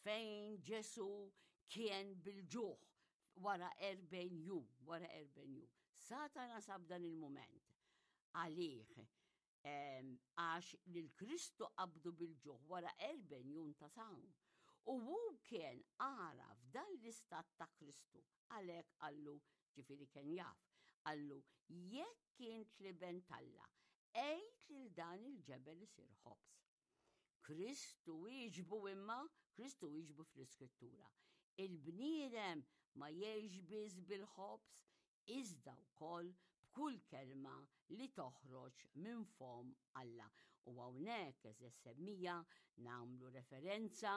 fejn Ġesu kien bil-ġuħ wara 40 jum, wara 40 jum. Satana sab dan il-moment għalih għax lil Kristu qabdu bil-ġuħ wara 40 jum ta' sawm. U hu kien għaraf dan l-istat ta' Kristu, għalhekk qallu, ġifieri kien jaf, qallu jekk int l-iben t'Alla, għid lil dan il-ġebel isir ħobż. Kristu wieġbu imma, Kristu wieġbu fl-Iskrittura. Il-bniedem ma jgħix biss bil-ħobż, iżda wkoll b'kull kelma li toħroġ minn fomm Alla. U hawnhekk eżeż semmija nagħmlu referenza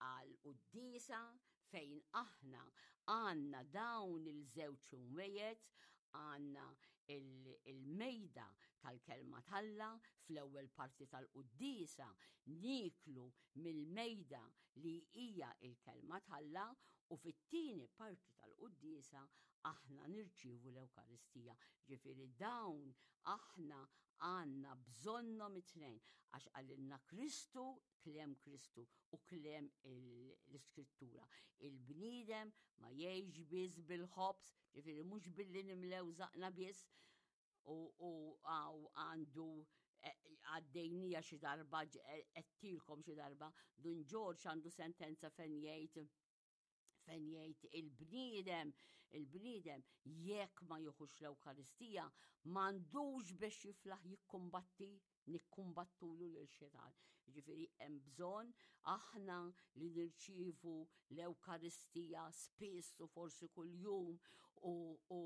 għal quddiesa fejn aħna għandna dawn il-żewġ imwejjed, għandna il-mejda tal-kelma t'Alla fl-ewwel parti tal-quddiesa nieklu mill-mejda li hija il-kelma t'Alla u fit-tieni parti tal-quddiesa aħna nirċievu l-Ewkaristija. Ġifieri dawn aħna għandna bżonnhom it-tnejn għax qalilna Kristu, kliem Kristu u kliem l-Iskrittura. Il-bniedem ma jgħix biss bil-ħobż, ġifieri mhux billi nimlew żaqna biss u għandu e, għaddejnija xi darba għedtilkom xi darba, Dun Ġorġ għandu sentenza fejn jgħid fejn jgħid il-bniedem, il-bniedem jekk ma jieħux l-Ewkaristija m'għandux biex jiflaħ jikkumbatti nikkumbattulu lil xitan. Ġifieri hemm bżonn aħna li nirċievu l-Ewkaristija spiss u forsi kuljum u, u,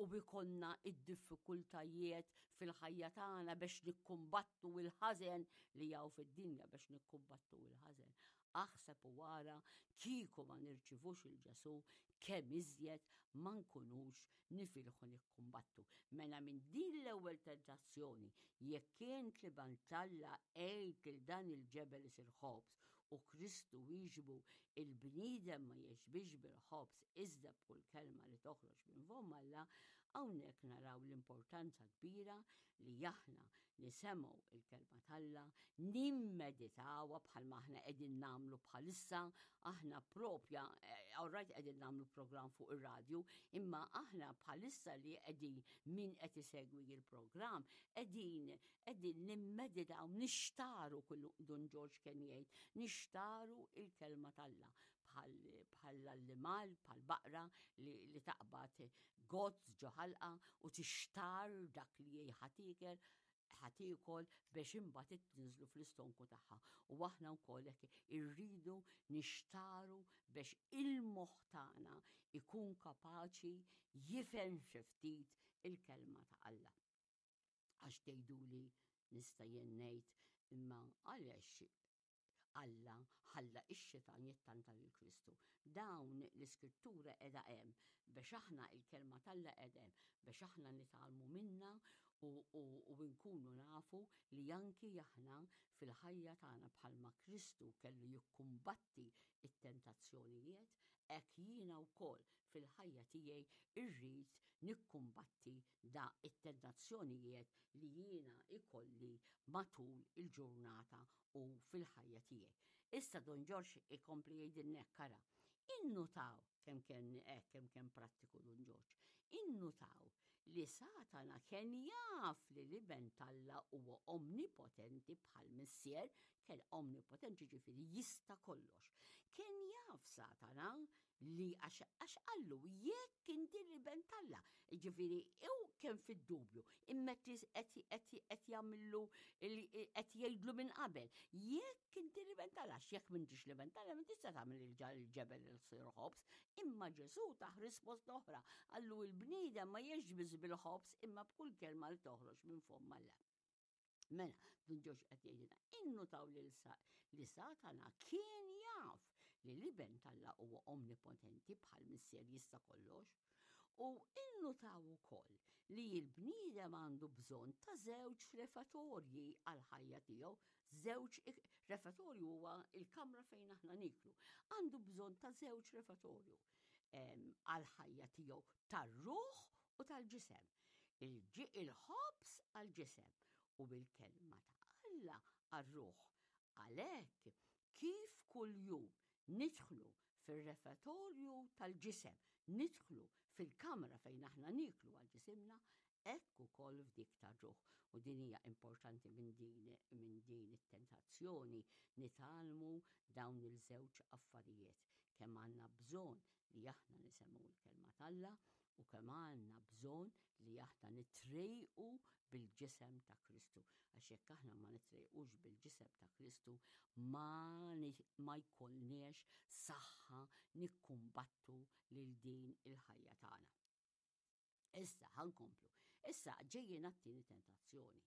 u bikonna id-diffikultajiet fil-ħajja tagħna biex nikkumbattu il-ħażen li jaw fid-dinja biex nikkumbattu il-ħażen. Aħseb u ara kieku ma nirċivux il-Ġesu kemm iżjed ma nkunux nifilħu nikkumbattu. Mela minn din l-ewwel tentazzjoni, jekk int l-Iben t'Alla għid lil dan il-ġebel isir ħobż u Kristu wieġbu il-bniedem ma jgħix bil-ħobż iżda b'kull kelma li toħroġ minn fomm Alla, hawnhekk naraw l-importanza kbira li aħna nisemgħu il-kelma t'Alla, nimmeditawha bħalma aħna qegħdin nagħmlu bħalissa, aħna propja, eh, all right qegħdin nagħmlu programm fuq ir-radju, imma aħna bħalissa li qegħdin min qed isegwi il-programm, qegħdin qegħdin nimmeditaw, nixtaru kullu Dun Ġorġ kien jgħid, nixtaru il-kelma t'Alla bħall-annimal, bħal baqra li, li taqbad gozz ġo ħalqa u tixtar dak li ħa tiekel ħa tiekol biex imbagħad tinżlu fl-istonku tagħha. U aħna wkoll hekk irridu nixtaru biex il-moħħ tagħna ikun kapaċi jifhem xi ftit il-kelma ta' Alla. Għax tgħiduli nista' jien ngħid imma għaliex Alla ħalla x-xitan jittanta lil Kristu. Dawn l-iskrittura qiegħda hemm biex aħna il-kelma t'Alla qiegħda hemm biex aħna nitgħallmu minna u, u, u nkunu nafu li anki aħna fil-ħajja tagħna bħalma Kristu kellu jikkumbatti it-tentazzjonijiet, hekk jiena wkoll fil-ħajja tiegħi irrid nikkumbatti da it-tentazzjonijiet li jiena ikolli matul il-ġurnata u fil-ħajja tiegħi. Issa Don Ġorġ ikompli jgħidilna hekk ara. Innutaw kemm kien hekk kemm kien prattiku Don Ġorġ. Innutaw li Satana kien jaf li l-iben t'Alla huwa omnipotenti bħal missier, kien omnipotenti ġifieri jista' kollox. Kien jaf Satana li għax qallu jekk inti l-iben t'Alla. Ġifieri u kien fid-dubju, imma qed jagħmillu qed jgħidlu minn qabel. Jekk inti l-iben t'Alla, jekk m'intix l-iben t'Alla, ma tista' tagħmel il-ġebel il-sir ħobż, imma Ġesù tah risposta oħra. Qallu l-bniedem ma jgħix biss bil-ħobż imma b'kull kelma li toħroġ minn fomm Alla. Mela, Dun Ġorġ qed jgħidilna, innutaw li li Satana kien jaf li l-iben t'Alla huwa omnipotenti bħal missier jista' kollox. U innutaw ukoll li l-bniedem għandu bżonn ta' żewġ refatorji għal-ħajja tiegħu, żewġ refatorju huwa il-kamra fejn aħna niklu. Għandu bżonn ta' żewġ refatorju għal-ħajja tiegħu tar-ruħ u tal-ġisem. Il-ħobż għall-ġisem u bil-kelma ta' Alla għar-ruħ. Għalhekk, kif kuljum. Nidħlu fir-refetorju tal-ġisem, nidħlu fil-kamra fejn aħna nieklu għal ġisimna, hekk ukoll f'dik tar-ruħ. U din hija importanti minn din minn din it-tentazzjoni nitgħallmu dawn il-żewġ affarijiet. Kemm għandna bżonn li aħna nisemgħu l-kelma t'Alla u kemm għandna bżonn li aħna nitrejqu bil-ġisem ta' Kristu. Għax jekk aħna ma nitrejqux bil-ġisem ta' Kristu, ma, ma jkollniex saħħa nikkumbattu lil din il-ħajja tagħna. Issa ħankomplu. Issa ġejjin għat-tieni tentazzjoni.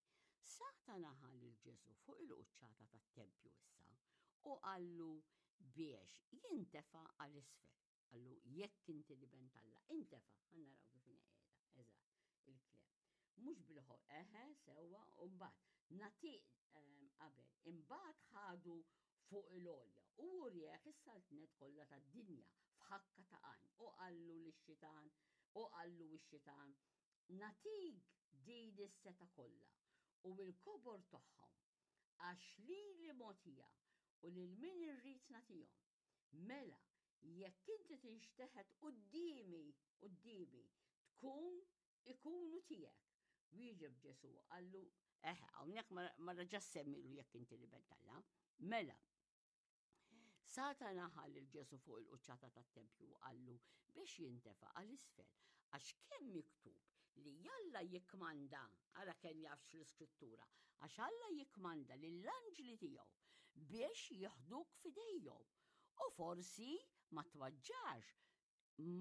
Satana ħa lil Ġesù fuq il-quċċata tat-tempju issa u qallu biex jintefa' għal isfel. Qallu jekk inti l-iben t'Alla, intefa', ħa naraw kif inhi qiegħda, eżatt, il-kliem. Mhux bil-ħo, eħe, sewwa, u mbagħad nagħti ehm, qabel, imbagħad ħadu fuq il-għolja u urjeh is-saltnet kollha tad-dinja f'ħakka ta' għajn u qallu lix-xitan u qallu x-xitan nagħtik din is-setgħa kollha u l-kobor tagħhom għax lili mogħtija u lil min irrid nagħtihom. Mela, jekk inti tinxteħet quddiemi, quddiemi, tkun ikunu tiegħek. Wieġeb Ġesù qallu, eħe, hawnhekk ma reġax semmilu jekk inti l-Iben t'Alla. Mela, Satana ħa lil Ġesù fuq il-quċċata tat-tempju u qallu biex jintefa' għal isfel, għax kemm miktub li Alla jikkmanda, ara kemm jafx l-Iskrittura, għax Alla jikkmanda lill-anġli tiegħu biex jiħduk f'idejhom u forsi ma twaġġax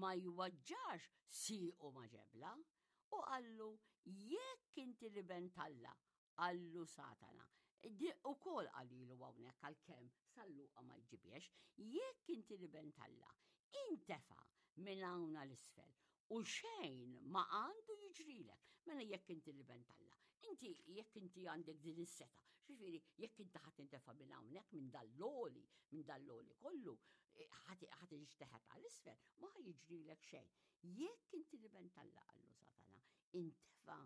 ma jwaġġax siequ ma' ġebla, u qallu, Jekk inti l-Iben t'Alla, qallu Satana. Ukoll qalilu hawnhekk għalkemm San Luqa ma jġibiex, jekk inti l-Iben t'Alla, intefa' minn hawn għal isfel u xejn ma għandu jiġrilek. Mela jekk inti l-Iben t'Alla, inti jekk inti għandek din is-setgħa, ġifieri jekk inti ħadd intefa' minn hawnhekk minn dal-loli, minn dal-loli kollu, ħa tinxteħet għal isfel, ma ħa jiġrilek xejn. Jekk inti l-iben t'Alla qallu Satana, intefa'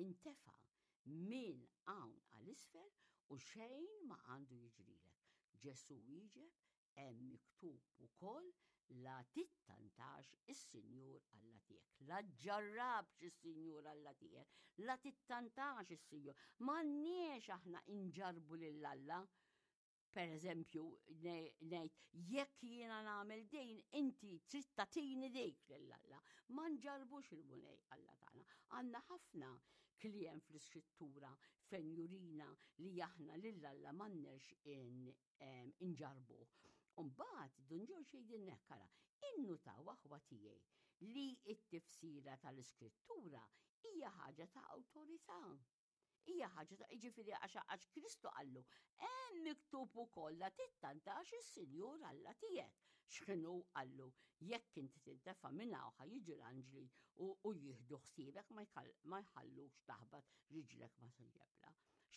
intefa' minn hawn għal isfel u xejn ma għandu jiġrilek. Ġesù wieġeb, hemm miktub ukoll la tittantax is-Sinjur Alla tiegħek. La ġġarrabx is-Sinjur Alla tiegħek, la tittantax is-Sinjur. M'għandniex aħna inġarbu lil Alla Per eżempju, ngħid jekk jiena nagħmel din, inti trid tagħtini dik lil Alla. Ma nġarbux il-Mulej Alla tagħna. Għandna ħafna kliem fl-iskrittura fejn jurina li aħna lil Alla m'għandniex inġarbuh. Umbagħad Dun Ġorġ jgħidilna hekk ara, innutaw aħwa tiegħi li t-tifsira tal-iskrittura hija ħaġa ta' awtorità. Hija ħaġa ta' jiġifieri għax għax Kristu qallu, hemm miktub ukoll la tittantax is-Sinjur Alla tiegħek. X'inhu qallu, jekk inti tintefa' minn hawn ħa jiġu l-anġli u, u jieħdu ħsiebek ma ma jħallukx taħbat riġlek ma' ġebla.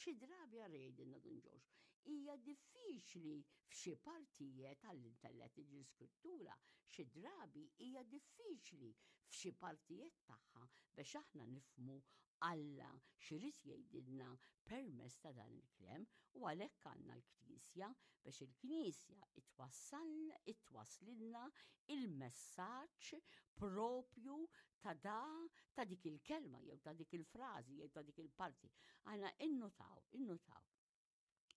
Xi drabi ara jgħidilna Dun Ġorġ, hija diffiċli f'xi partijiet għall-intellett l-iskrittura, xi drabi hija diffiċli f'xi partijiet tagħha biex aħna nifhmu Alla x'irid jgħidilna permezz ta' dan il-kliem u għalhekk għandna l-Knisja biex il-Knisja itwasslilna il-messaġġ propju ta' da ta' dik il-kelma jew ta' dik il-frażi jew ta' dik il-parti. Aħna innutaw, innutaw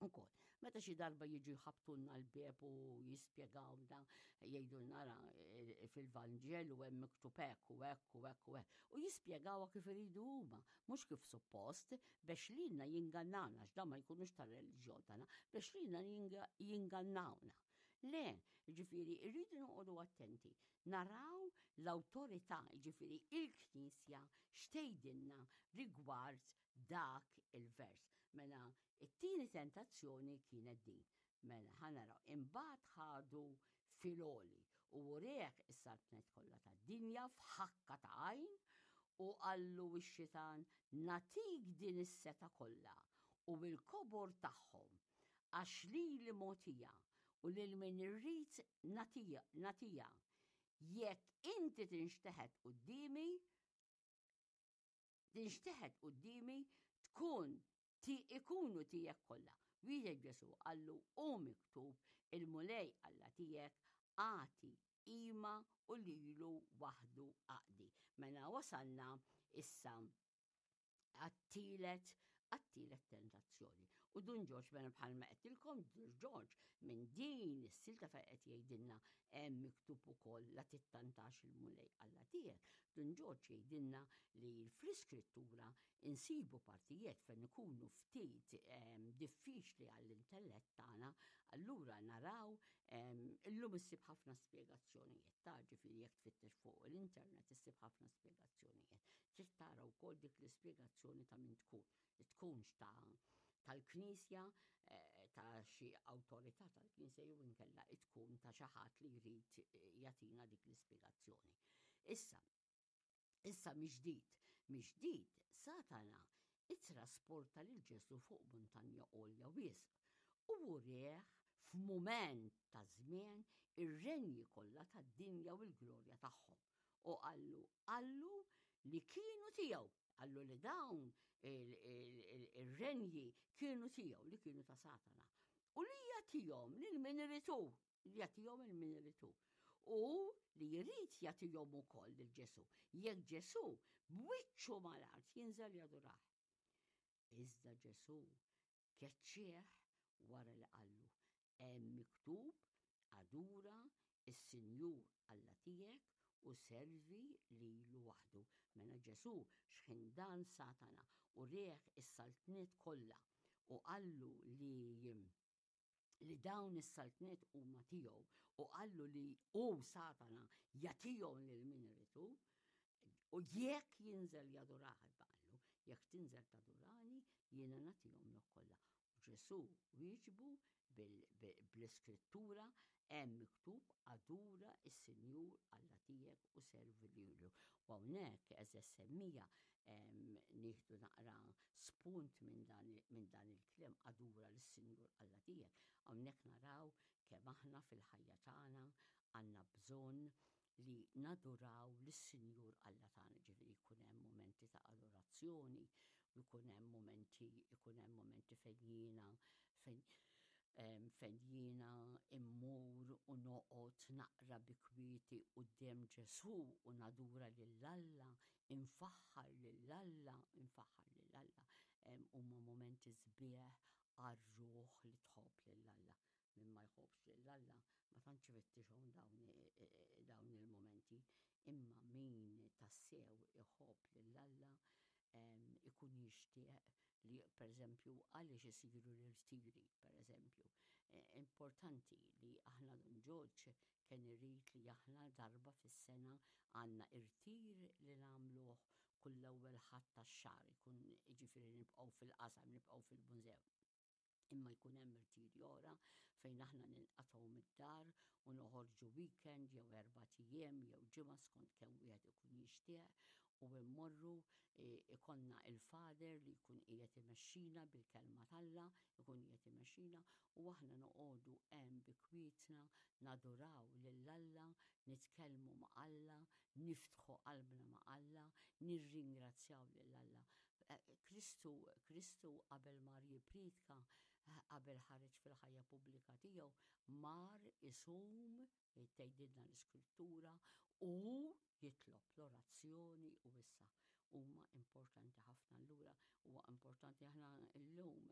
Ukoll, meta xi darba jiġu jħabtulna l-bieb u jispjegawna, jgħidulna ra eh, fil-Vanġelu hemm miktub hekk u hekk u hekk u hekk. U jispjegawha kif iridu huma, mhux kif suppost, biex lilna jingannawna, għax dan ma jkunux tar-reliġjon tagħna, biex lilna jingannawna. Le, ġifieri, irridu noqogħdu attenti, naraw l-awtorità, ġifieri il-Knisja x'tgħidilna rigward dak il-vers. Mela, it-tieni tentazzjoni kienet din. Mela, ħa naraw. Imbagħad ħadu fil-għoli u ureh is-saltnet kollha tad-dinja f'ħakka ta' għajn u qallu x-xitan nagħtik din is-setgħa kollha u l-kobor tagħhom għax lili mogħtija u lil min irrid nagħtiha. Jekk inti tinxteħet quddiemi, tinxteħet quddiemi tkun ti ikunu tiegħek kollha. Wieġeb Ġesù qallu hu miktub Il-Mulej Alla tiegħek agħti qima u lilu waħdu aqdi. Mela wasalna issa għat-tielet għat-tielet tentazzjoni. U Dun Ġorġ mela bħalma qedtilkom Dun Ġorġ minn din is-silta fejn qed jgħidilna hemm miktub ukoll la tittantax il-Mulej Alla tiegħek. Dun Ġorġ jgħidilna li fl-iskrittura insibu partijiet fejn ikunu ftit ehm, diffiċli għall-intellett tagħna, allura naraw ehm, illum issib ħafna spjegazzjonijiet ta' ġifieri jekk tfittex fuq l-internet issib ħafna spjegazzjonijiet. Trid tara wkoll dik l-ispjegazzjoni ta' min tkun. Tkunx ta' tal-Knisja, eh, ta' xi awtorità tal-Knisja jew inkella tkun ta' xi ħadd li jrid eh, jagħtina dik l-ispjegazzjoni. Issa, issa miġdid, miġdid Satana ittrasporta lil Ġesu fuq muntanja għolja wisq u wurih f'mument ta' żmien ir-renji kollha tad-dinja u l-glorja tagħhom. U qallu, qallu li kienu tiegħu, qallu li dawn ir-renji kienu tiegħu, li kienu ta' Satana. U li jagħtihom lil min irid hu, li jagħtihom lil min irid hu. U li jrid jagħtihom ukoll lil Ġesù. Jekk Ġesù b'wiċċu mal-art jinżel jadurah. Iżda Ġesù Keċċieh wara li qallu, Hemm miktub, 'Adura s-Sinjur Alla tiegħek u servi lilu waħdu. Mela Ġesù xħin dan Satana u rieh is-saltniet kollha u qallu li li dawn is-saltniet huma tiegħu u qallu li hu Satana jagħtihom lil min irid hu, U jekk jinżel jadurah, qallu, jekk tinżel tadurani, jiena nagħtihomlok kollha. U Ġesù wieġbu bl-iskrittura hemm miktub adura s-Sinjur Alla tiegħek u servi lilu. U hawnhekk eżeż semmija nieħdu naqra spunt minn dan il-kliem adura lis-Sinjur Alla tiegħek. Hawnhekk naraw kemm aħna fil-ħajja tagħna għandna bżonn li naduraw lis-Sinjur Alla tagħna, ġifieri jkun hemm mumenti ta' adorazzjoni, u jkun hemm mumenti, ikun hemm mumenti fejn jiena fejn fejn jiena immur u noqgħod naqra bi kwieti quddiem Ġesù u nadura lil Alla, infaħħar lil Alla, infaħħar lil Alla. Huma mumenti sbieħ għar-ruħ li tħobb lil Alla. Min ma jħobbx lil Alla ma tantx ifittixhom dawn dawn il-mumenti, imma min tassew iħobb lil Alla ikun jixtieq li pereżempju għaliex isiru l-irtiri, pereżempju. Importanti li aħna Dun Ġorġ kien irid li aħna darba fis-sena għandna irtir li nagħmluh kull l-ewwel Ħadd tax-xahar, ikun jiġifieri nibqgħu fil-qasam, nibqgħu fil-mużew. Imma jkun hemm irtiri oħra fejn aħna ninqatgħu mid-dar u noħorġu weekend jew erbat ijiem jew ġimgħa skont kemm wieħed ikun jixtieq u mmorru e, ikollna il-father li jkun qiegħed imexxina bil-kelma t'Alla, ikun qiegħed imexxina u aħna noqogħdu hemm bi kwietna naduraw lil Alla, nitkellmu ma' Alla, niftħu qalbna ma' Alla, nirringrazzjaw lil Alla. Kristu, Kristu qabel mar jippriedka, qabel ħareġ fil-ħajja pubblika tiegħu, mar isum, tgħidilna l-Iskrittura, u jitlob l-orazzjoni u issa huma importanti ħafna allura huwa importanti aħna llum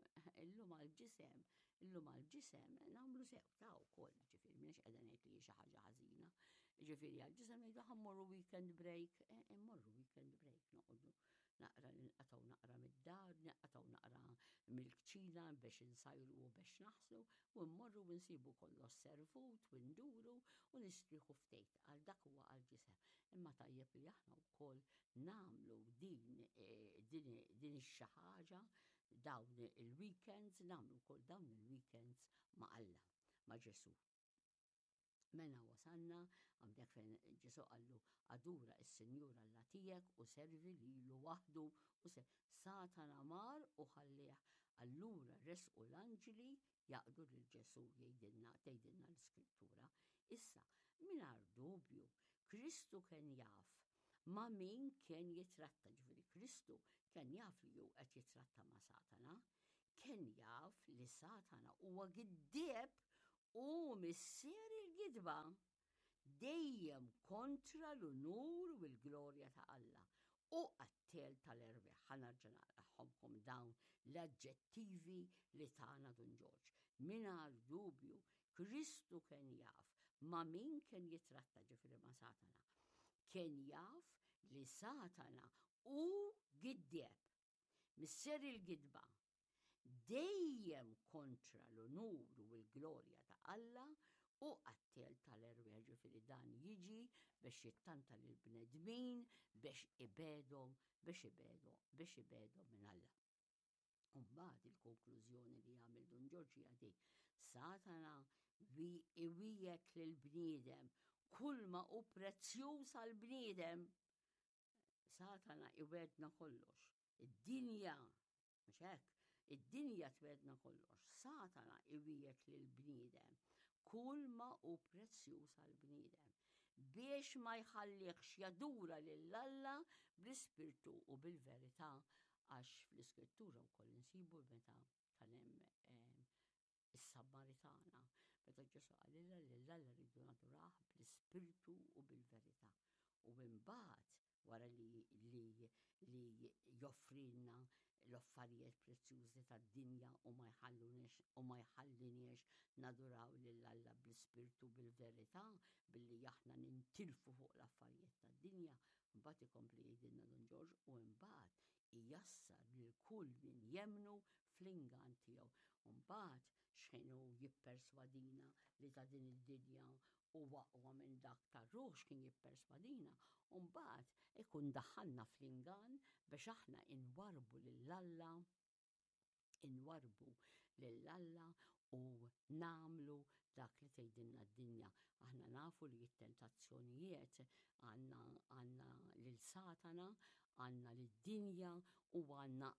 illum għall-ġisem illum għall-ġisem nagħmlu sew ta' wkoll ġifieri m'iniex qiegħda ngħid li xi ħaġa ħażina. Ġifieri għall-ġisem ngħidu ħa mmorru weekend break, eh, immorru weekend break noqogħdu naqra ninqatgħu naqra mid-dar, ninqatgħu naqra mill-kċina biex insajru u biex naħslu u mmorru u nsibu kollox servut u nduru u nistrieħu ftit għal dak huwa għal ġisem. Imma tajjeb li aħna wkoll nagħmlu din eh, din din ix-xi ħaġa dawn il-weekends, nagħmlu wkoll dawn il-weekends ma' Alla, ma' Ġesù. Mela wasalna hawnhekk fejn Ġesù qallu adura s-Sinjur Alla tiegħek u servi lilu waħdu u se Satana mar u ħallih. Allura resqu l-anġli jaqdu lil Ġesù jgħidilna tgħidilna l-Iskrittura. Issa, mingħajr dubju, Kristu kien jaf ma' min kien jitratta, ġifieri Kristu kien jaf li hu qed jitratta ma' Satana, kien jaf li Satana huwa giddieb. Hu missier il-gidba, dejjem kontra l-unur u l-glorja ta' Alla. Hu qattiel tal-erwieħ. Ħa nerġa' naqrahomkom dawn l-aġġettivi li tana Dun Ġorġ. Mingħajr dubju, Kristu kien jaf ma' min kien jitratta, ġifieri ma' Satana. Kien jaf li Satana hu giddieb, missier il-gidba, dejjem kontra l-unur u l-glorja ta' Alla u qattiel tal-erwieħ, ġifieri dan jiġi biex jittanta lill-bnedmin biex ibegħdhom, biex ibegħdhom, biex ibegħdhom minn Alla. U mbagħad il-konklużjoni li jagħmel Dun Ġorġ hija di, Satana iwiegħed lill-bniedem kull ma hu prezzjuż għall-bniedem. Satana iwegħedna kollox. Id-dinja, mhux hekk, id-dinja twegħedna kollox. Satana iwiegħed lill-bniedem kull ma hu prezzjuż għall-bniedem biex ma jħallihx jadura lil Alla bl-ispirtu u bil-verità għax fl-iskrittura wkoll insibu meta kan hemm eh, is-Samaritana, meta Ġesù qalilha li lil Alla rridu nadurah bl-ispirtu u bil-verità. U imbagħad wara li li li joffrilna l-affarijiet prezzjużi tad-dinja u ma jħalluniex u ma jħalliniex naduraw lil Alla bl-ispirtu bil-verità billi aħna nintilfu fuq l-affarijiet tad-dinja, mbagħad ikompli jgħidilna Dun Ġorġ u imbagħad ijassar lil kull min jemmnu fl-ingann tiegħu. U mbagħad x'ħin hu jipperswadina li ta' din id-dinja huwa aqwa minn dak tar-ruħ x'kien jipperswadina, u mbagħad ikun daħħalna fl-ingann biex aħna inwarrbu lil Alla, inwarrbu lil Alla u nagħmlu dak li tgħidilna d-dinja. Aħna nafu li t-tentazzjonijiet għandna għandna lil Satana, għandna lid-dinja u għandna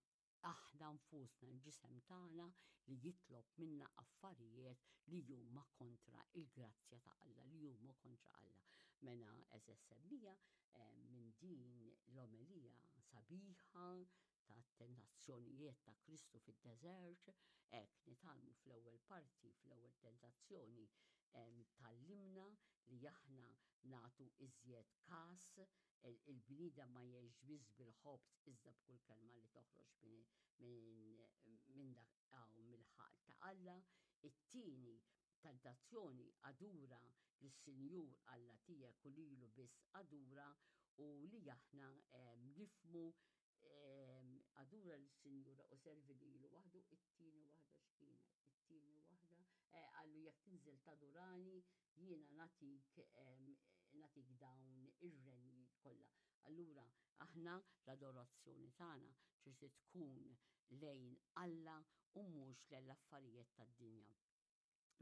aħna nfusna l-ġisem tagħna li jitlob minna affarijiet li huma kontra il-grazzja ta' Alla, li huma kontra Alla. Mela eżess semmija eh, minn din l-omelija sabiħa ta' tentazzjonijiet ta' Kristu fid-deżert, hekk nitgħallmu fl-ewwel parti, fl-ewwel tentazzjoni tgħallimna li aħna nagħtu iżjed kas, il-bniedem ma jgħix biss bil-ħobż iżda b'kull kelma li toħroġ minn dak hawn mill-ħalq ta' Alla. It-tieni tentazzjoni adura lis-Sinjur Alla tiegħek u lilu biss adura u li aħna nifhmu Adura lis-Sinjura u servi lilu waħdu, it-tieni waħda x'kienet? It-tieni waħda, eh, qallu jekk tinżel tadurani, jiena nagħtik nagħtik dawn ir-renji kollha. Allura aħna l-adorazzjoni tagħna trid tkun lejn Alla u mhux lejn l-affarijiet tad-dinja.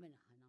Mela ħa